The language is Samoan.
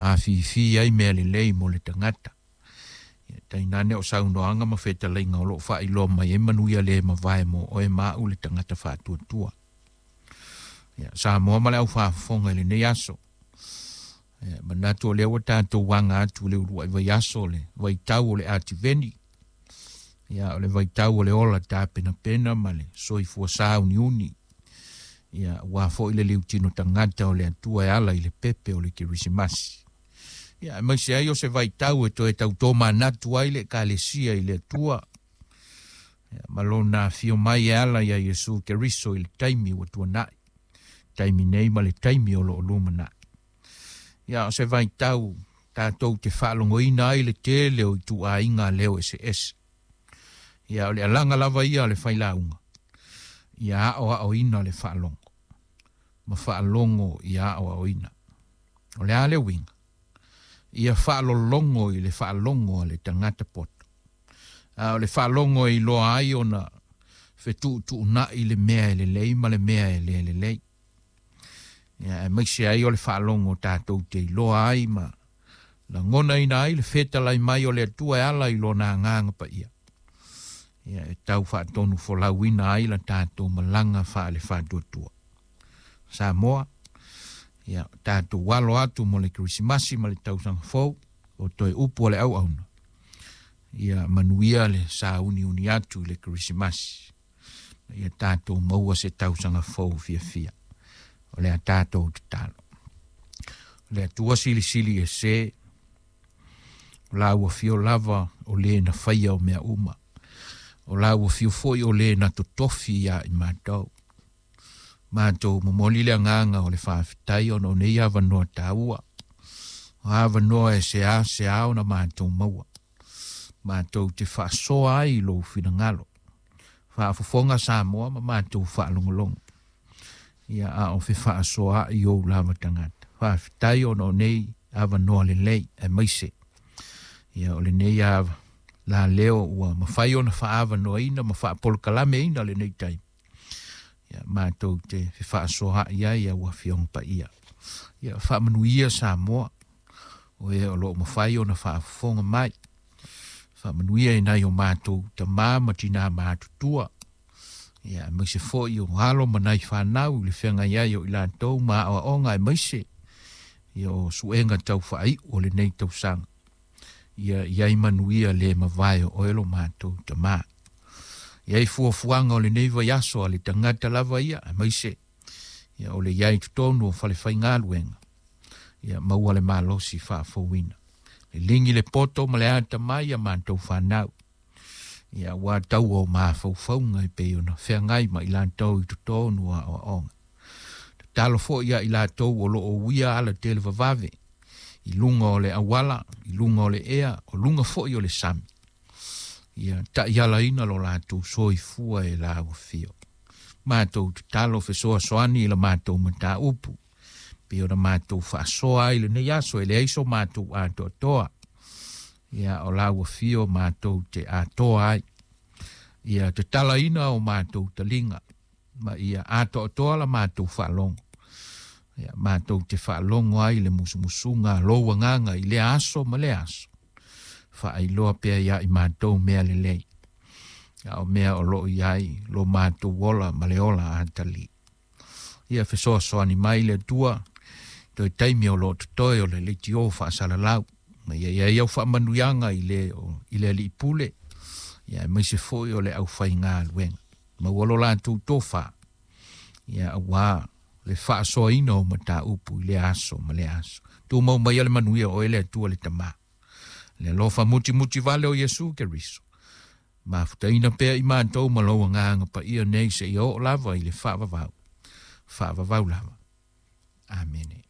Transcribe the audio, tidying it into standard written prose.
Afifi ai mea lelei mo le tagata. Ia tainane o saunoaga ma fetalaiga o loo faailoa mai ai manuia le mavae mo oe ma au le tagata faatuatua. Ia Samoa ma le aufaafofoga i lenei aso. Ia manatu o lea ua tatou aga atu i le uluai vaiaso o le vaitau o le Ativeni. Ia o le vaitau o le ola tapenapena ma le soifua sauniuni. Ia ua foi le liutino tagata o le Atua e ala i le pepe o le Kerisimasi. Ia aemaise ai o se vaitau e toe tautomanatu ai le Ekalesia i le Atua. Ia, ma lona afio mai e ala ia Iesu Keriso i le taimi ua tuanai, taimi nei ma le taimi o loo lumanai. Ia o se vaitau tatou te faalogoina ai le tele o ituaiga leo eseese. Ia o le alaga lava ia o le failauga, ia aoaoina le faalogo, ma faalogo ia aoaoina. O le a le uiga? Ia faalologo i le faalogo a le tagata poto. A o le faalogo e iloa ai ona fetuutuunai le mea e lelei ma le mea e le lelei. Ia aemaise ai o le faalogo tatou te iloa ai ma lagonaina ai le fetalai mai o le Atua e ala i lona agaga paia. Ia e tau faatonu folauina ai la tatou malaga faale-faatuatua. Samoa, ia tatou alo atu mo le Kerisimasi ma le tausaga fou, o toe upu o le auauna. Ia manuia le sauniuni atu i le Kerisimasi. Ia tatou maua se tausaga fou fiafia. O le a tatou tatalo. O le Atua silisili ese, o la ua fio lava o le na faia o mea uma. O la ua fio foi o le na totofi ia i matou. Matou momoli le agaga o le faafetai ona o nei avanoa taua. O avanoa e sea sea ona matou maua. Matou te faasoa ai i lou finagalo. Faafofoga Samoa ma matou faalogologo. Ia a o fefaasoaai ou lava tagata. Faafetai ona o nei avanoa lelei aemaise. Ia o lenei ava la leo ua mafai ona faaavanoaina ma faapolokalameina lenei taimi. Ia matou te fefaasoaai ai au afioga paia. Ia faamanuia Samoa o e o loo mafai ona faafofoga mai. Faamanuia i nai o matou tama ma tina matutua. Ia aemaise foi o alo ma nai fanau i le feagai ai o i latou ma aoaoga aemaise ia o suega tau faaiu o lenei tausaga. Ia iai manuia le mavae o oe lo matou tama. Ia i fuafuaga o lenei vaiaso a le tagata lava ia aemaise ia o le iai totonu o falefaigaluega. Ia maua le malosi faafouina. Liligi le poto ma le atamai ia matou fanau. Ia ua tau o mafaufauga e pei ona feagai ma i latou i totonu o aoaoga. Tatalo foi ia i latou o loo uia ala televavave i luga o le auala, i luga o le ea, o luga foi o le sami. Ia taialaina lo latou soifua e la ua fio. Matou tatalo fesoasoani i la matou mataupu. Pei ona matou faasoa ai lenei aso e leai so matou atoatoa. Ia o la ua fio matou te atoa ai. Ia tatalaina o matou taliga ma ia atoatoa la matou faalogo. Ia matou te faalogo ai le musumusuga a lou agaga i lea aso ma lea aso. Faailoa pea ia i matou mea lelei. A o mea o loo i ai lo matou ola ma le ola atali. Ia fesoasoani mai le Atua toe taimi o loo totoe o le leitio faasalalau. Ma ia iai au faamanuiaga i le i le alii pule. Ia aemaise foi o le aufaigaluega. Maua lo latou tofa. Ia auā le faasoaina o mataupu i lea aso ma lea aso. Tumau maia le manuia o oe le Atua le Tama. Le alofa mutimuti vale o Iesu Keriso. Mafutaina pea i matou ma lou agaga paia nei seia oo lava i le faavavau. Faavavau lava. Amene.